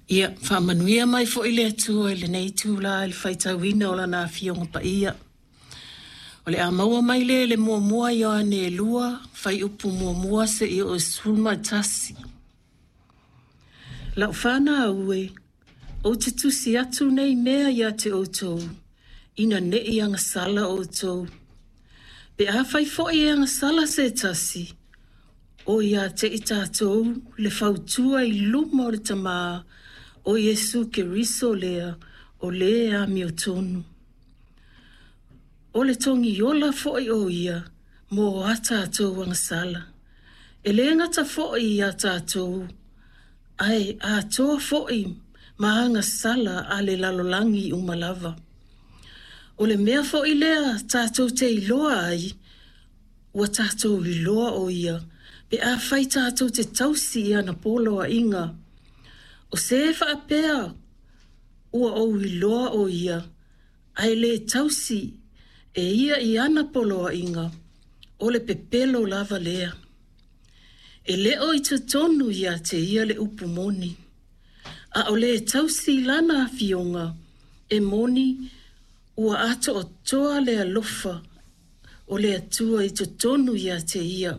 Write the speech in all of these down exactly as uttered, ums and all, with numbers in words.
Ia, faamanuia mai foi le Atua i lenei itula i le faitauina o Lana Afioga Paia. O le a maua mai lea i le muamua Ioane e lua, fuaiupu muamua seia oo i le sefulu ma tasi. Lau fanau e, ou te tusi atu nei mea ia te outou, ina ne i agasala outou. Pe afai foi e agasala se tasi, o ia te i tatou le fautua i luma o le Tamā, o Iesu Keriso lea, o le amiotonu. O le togiola foi o ia mo a tatou agasala. E le gata foi ia tatou, ae atoa foi ma agasala a le lalolagi uma lava. O le mea foi lea tatou te iloa ai, ua tatou iloa o ia, pe afai tatou te tausi i ana poloaiga. O se faapea ua ou iloa o ia, ae le tausi e ia i ana poloaiga, o le pepelo lava lea. E le o i totonu ia te ia le upu moni, a o le tausi i lana afioga, e moni ua atoatoa le alofa o le Atua i totonu ia te ia.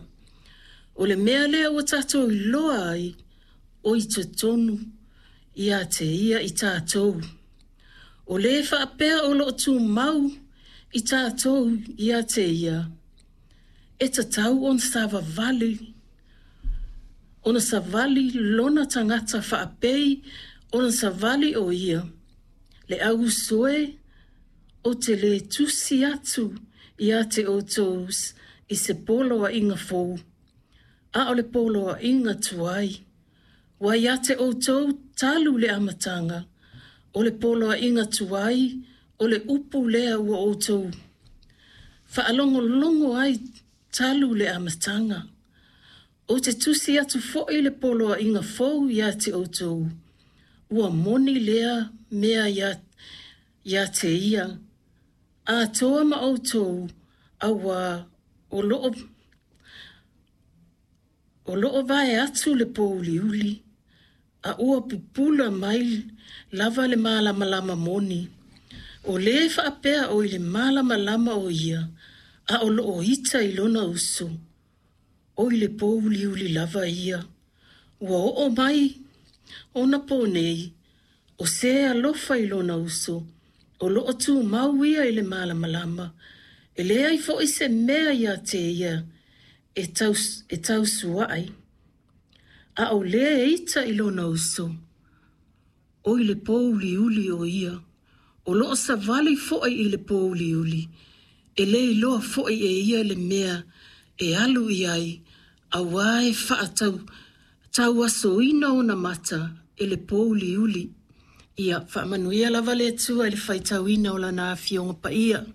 O le mea lea ua tatou iloa ai, o i totonu ia te ia i tatou. O le faapea o loo tumau i tatou ia te ia, e tatau ona savavali, ona savali lona tagata faapei ona savali o ia. Le au uso e, ou te le tusi atu ia te outou i se poloaiga fou, a o le poloaiga tuai. Ua ia te outou talu le amataga, o le poloaiga tuai, o le upu lea ua outou faalogologo ai talu le amataga. Ou te tusi atu foi le poloaiga fou ia te outou, ua moni lea mea ia, ia te ia, atoa ma outou, auā o loo, o loo vae atu le pōuliuli, a ua pupula mai lava le malamalama moni. O le faapea o i le malamalama o ia, a o loo ita i lona uso, o i le pōuliuli lava ia. Ua oo mai ona po nei, o se alofa i lona uso, o loo tumau ia i le malamalama. E leai foi se mea ia te ia e, taus, e tausuai. A o le ita i lona uso, o i le pōuliuli o ia. O loo savali foi i le pōuliuli, e le iloa foi e ia le mea e alu i ai, auā e faatau tauasoina ona mata e le pōuliuli. Ia faamanuia lava le Atua i le faitauina o Lana Afioga Paia.